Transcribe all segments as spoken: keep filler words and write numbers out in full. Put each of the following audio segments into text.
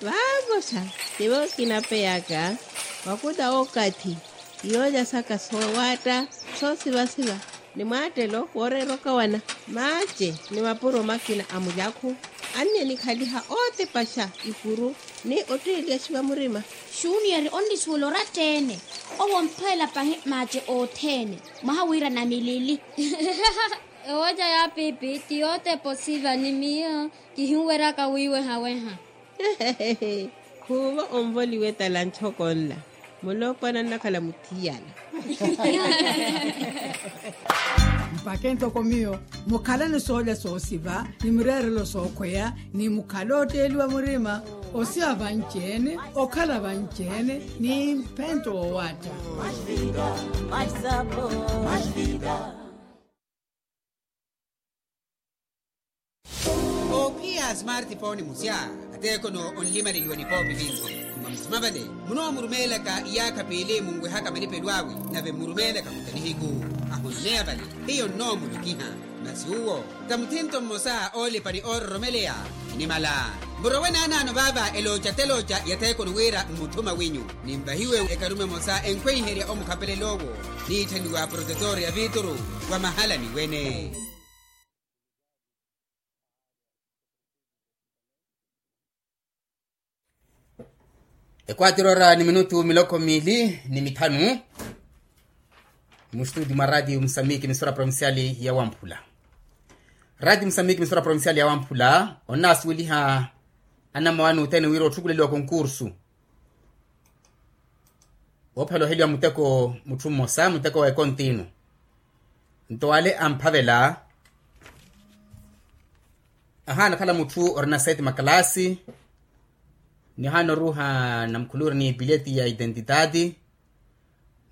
Vaakoxa, tivo kinapeyaka wakuta okathi, iyoolya saka soowaatta soosivasiva, ni mwaattelo wooreera okawana. Maace ni mapuro makina a mulyakhu anni enikhaliha ootipaxa ikuru ni otteeliyaxiwa murima. Xuniyeri onnisuwela oratta-ene. Owo omphwelela pahi maace othene. Mwaha wira namilili. Ewoca ya pipi ti yootepa osiva ni miyo kihinweryaka wiiwehaweha. Khuuvo onvoliwe tala ntthoko nla. Muloopwana nnakhala muthiyana. Mpakha ntoko miyo mukhalani soolya soosiva ni mireerelo sookhweya, ni mukhale ootteeliwa murima, osiva vanci-ene, okhala vanci-ene ni mphento woowaatta. Oophiya a smartphone musya, ateekono onlimaleliwa nipoopi vinci. Mwa musima vale munoomurumeelaka iyaakha piili munwehaka malipelo awe, nave mmurumeelaka kuta nihiku. Ahonneya vale hiyo nnoomulokiha. Masi uwo ta muthinto mmosa oolipa ni oororomeleya. Nimala murowe naanaano vaava elooca telooca yatheekoni wira mmuthuma winyu. Nimvahiwe ekarume emosa enkhweiherya omukhapelela owo, niitthaniwa protetor ya viituru wa mahalani wene. Ekwatira ora ni minutu miloko miili ni mithanu. Mustudi mwa ratiyo musambiki misora provinciali ya wamphula. Ratiyo musambiki misora provinciali ya wamphula onnaasuweliha anamawani othene wira otthukuleliwa konkursu woophela oheliwa muteko mutthu mmosa muteko wa ekontinu. Nto wale amphavela ahaana okhala mutthu orina seti makalaasi, ni ohaana oruuha namukhuluri ni pileti ya itentitati.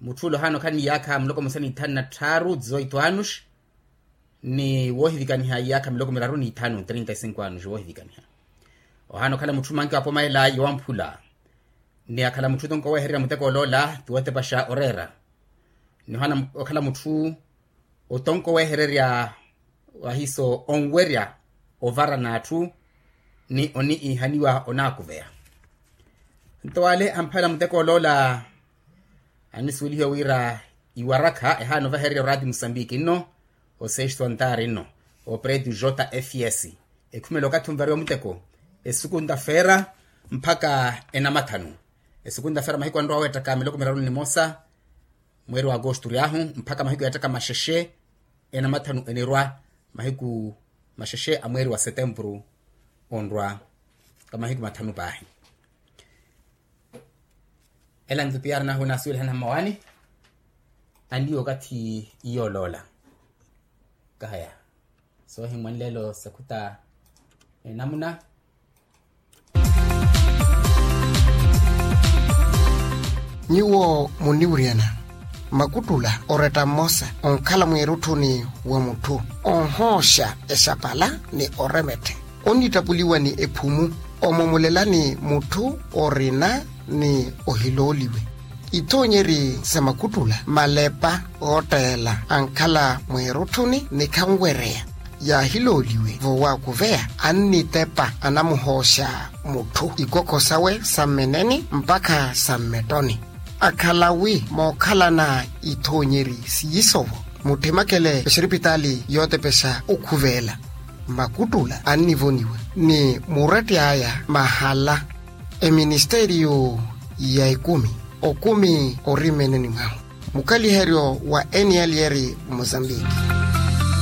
Mutthu ole ohaana okhala ni iyaakha muloko musa ni ithanu na tthaaru dizoito anos, ni woohivikaniha iyaakha miloko miraru ni ithanu trinta y cinco anos woohivikaniha. Ohaana okhala mutthu manki wapomayela yowamphula. Ni akhala mutthu tonko weehererya muteko oloola ti wotepaxa oreera. Ni ohaana okhala mutthu otonko weehererya wahiiso onwerya ovara n'atthu ni oniihaniwa onaakuveya. Nto wale amphavela muteko oloola annisuwelihiwa wira iwarakha ehaana ovahererya oraati musambiki nno osesto antaari nno opretu jfs ekhumela okathi onvariwa muteko esukunta feera mpakha enamathanu. Esukunta feera mahiku anrowa weettaka miloko miraru ni nimosa mweeri wa agosto oryahu mpakha mahiku yeettaka maxexe enamathanu enirwa mahiku maxexe a mweeri wa setempuru onrwa ka mahiku mathanu paahi. Ela nto piyari nahu naasuwelihana mmawaani anniiwo okathi iyooloola kahaya soohimwa nlelo sakhuta enamuna. Nyuwo muniwuryana makuttula oretta mmosa onkhala mweerutthuni wa mutthu onhooxa exapala ni oremetthe onnittapuliwa ni ephumu omomolelani mutthu orina ni ohilooliwe. Ithoonyeri sa makuttula malepa ootteela ankhala mweerutthuni ni khanwereya yaahilooliwe voowakuveya annitepa anamuhooxa mutthu ikokho sawe sa mmeneni mpakha sa mmettoni. Akhala wi mookhalana ithoonyeri siiso-vo mutthemakele exeripitaali yootepexa okhuveela makuttula annivoniwa ni muratti aya mahala eministeriyo ya ekumi okumi ori mmeneni mwahu. Mukaliheryo wa eniyalyeri mozambiki.